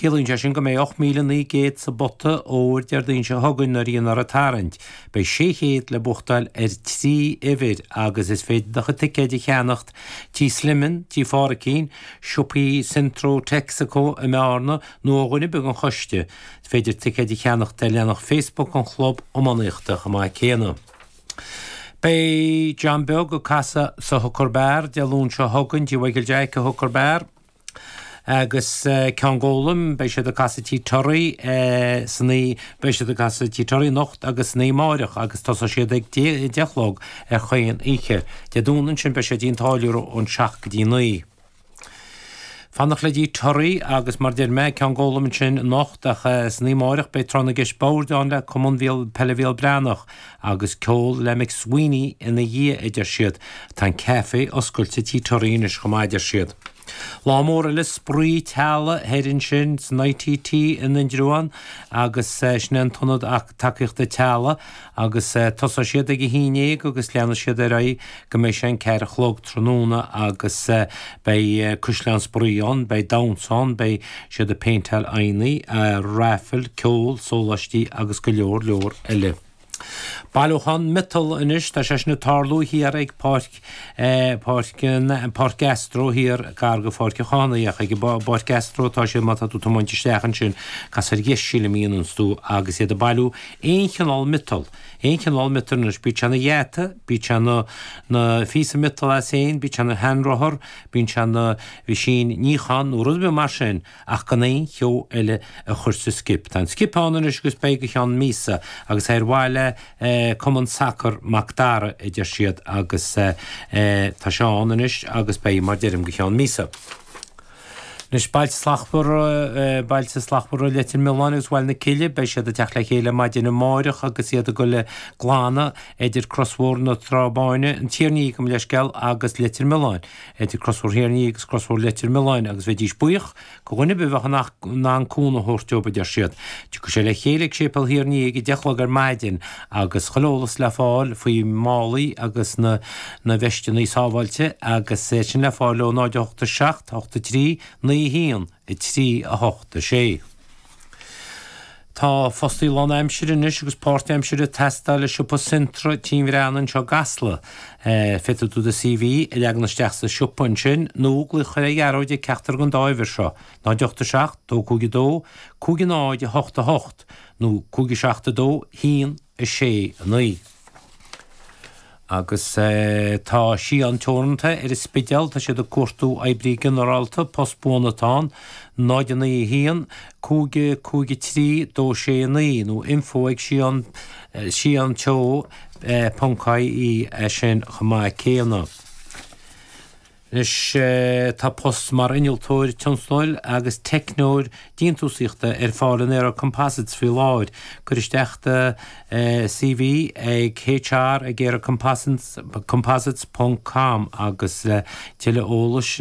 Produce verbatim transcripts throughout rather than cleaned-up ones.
Ciallaíonn sé sin go mbeidh ocht míle naoi gcéad sa bpota óir Déardaoin seo chugainn nuair a dhéanfar an tarraingt. Beidh sé chéad le buachtáil ar trí uimhir agus is féidir do chuid ticéid a cheannacht Tí Sliman, Tí Phádraicín, siopaí Centro Texaco i mBearna nó ó dhuine ar bith den choiste. Is féidir ticéid a cheannacht ar leathanach Facebook an Chlub Iománaíochta chomh maith céanna. Beidh John Beag ag casadh sa Hooker Bar Dé Luain seo chugainn, Tí Mhichael Jack i Hooker Bar. Agus Ceann Gólaim, beidh siad ag casadh Tí Toraí san oí, beidh siad ag casadh Tí Toraí anocht agus san oíche amáireach agus tosóidh siad ag deich a chlog ar chaon oíche. Dé Domhnaigh ansin beidh siad i dTí an Táilliúra ón seacht go dtí naoi. Fanacht le Tí Toraí agus mar deir mé, Ceann Gólaim ansin anocht ach san oíche amáireach beidh tráth na gceist boird ann le Cumann Peile Bhéal Breathnach agus ceol le McSweeney ina dhiaidh a deir siad. Tá an caife oscailte Tí Toraí anois chomh maith a deir siad. Lá mór eile spraoi teaghlaigh thoir ansin san ITT in Indreabhán agus sin é an tIonad Tacaíochta Teaghlaigh agus tosóidh siad ag a haon déag agus leanfaidh siad ar aghaidh go mbeidh sé an ceathair a chlog tráthnóna agus beidh caisleán spraoi ann, beidh damhsa ann, beidh siad ag péinteáil aghaidheanna, raifil, ceol, sóláistí agus go leor leor eile. Bailiúchán miotal anois, tá sé sin ag tarlú thiar ag Páirc, Páirc, Páirc Astro thiar gar go Pháirc an Chathánaigh ach ag an bPáirc Astro atá sé má tá tú ag tiomáint isteach ansin, cas ar dheis sílim a dhéananns tú agus iad ag bailiú aon chineál miotal, aon chineál miotal anois, bíodh sé ina gheata, bíodh sé ina, ina phíosa miotal as féin, bíodh sé ina sheanrothar, bíonn sé ina mheaisín níocháin nó rud ar bith mar sin ach gan aon cheo eile a chur sa skip. Tá an skip ann anois agus beidh go cheann míosa agus é ar mhaithe le Cumann Sacair Mac Dara a deir siad agus tá sé ann anois agus beidh mar deirim go cheann míosa. Anois Bailte Slachtmhara, Bailte Slachtmhara Leitir Mealláin agus Bhaile na Cille, beidh siad ag teacht le chéile maidin amáireach agus iad ag dul ag glanadh idir Crosbhóthar na Trá Báine, an Tír an Fhia gabh mo leithscéal, agus Leitir Mealláin. Idir Crosbhóthar Thír an Fhia agus Crosbhóthar Leitir Mealláin agus bheidís buíoch go dhuine ar bith a bheadh in ann cúnamh a thabhairt dóibh, a deir siad. Tiocfaidh sé le chéile ag Séipéal Thír an Fhia ag a deich a chlog ar maidin agus chuile eolas le fáil faoi málaí agus na na veisteanna sábháilte agus é sin le fáil ó náid a hocht a seacht, hocht a trí, naoi a haon, a trí, a hocht a sé. Tá fostaí lánaimsire anois agus páirtaimsire ag teastáil i siopa Centra Tí an Bhreathnaigh anseo i gCasla. Féadfaidh tú do CV a leagan isteach sa siopa ansin nó glaoch ar Ghearóid ag ceachtar den dá uimhir seo, náid ocht a seacht, dó cúig a dó, cúig a náid a hocht a hocht nó cúig a seacht a dó, haon a sé a naoi. Agus tá Síon Teoranta ar an Spidéal, tá siad ag cuartú oibrí ginearálta, post buan atá ann, náid a naoi a haon, cúig cúig a trí, dó sé a naoi, nó info ag síon, síon teo ponc ie é sin chomh maith céanna. Anois tá post mar innealtóir tionscadail agus teicneoir déantúsaíochta ar fáil in Aero Composites faoi láthair. Cuir isteach do CV ag HR ag aerocomposites ponc com agus le tuilleadh eolais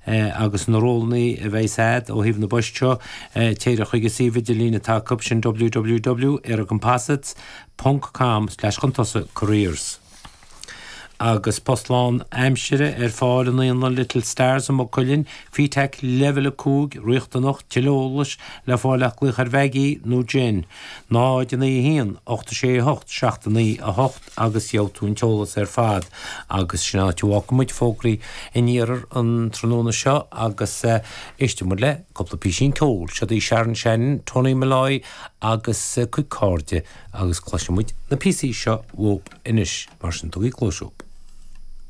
agus na rólanna a bheidh agat ó thaobh na bpoist seo, téir chuig an suíomh idirlín atá acu, sin www aerocomposites ponc com slash chun tosaigh careers. Agus post lán aimsire ar fáil i Naíolann Little Stars i Maigh Cuilinn, FETAC Leibhéal a cúig, riachtanach, tuilleadh eolais le fáil ach glaoch ar Mhaggie nó Jen, náid a naoi a haon, ocht a sé a hocht, seacht a naoi a hocht agus gheobhaidh tú an t-eolas ar fad. Agus sin an áit a bhfágfaidh muid fógraí an iarthair an tráthnóna seo agus éistfidh muid le cúpla písín ceoil. Siod í Sharon Shannon, Tony Molloy agus a cuid cairde agus cloisfidh muid na píosaí seo uathu anois, mar sin tugaigí cluas.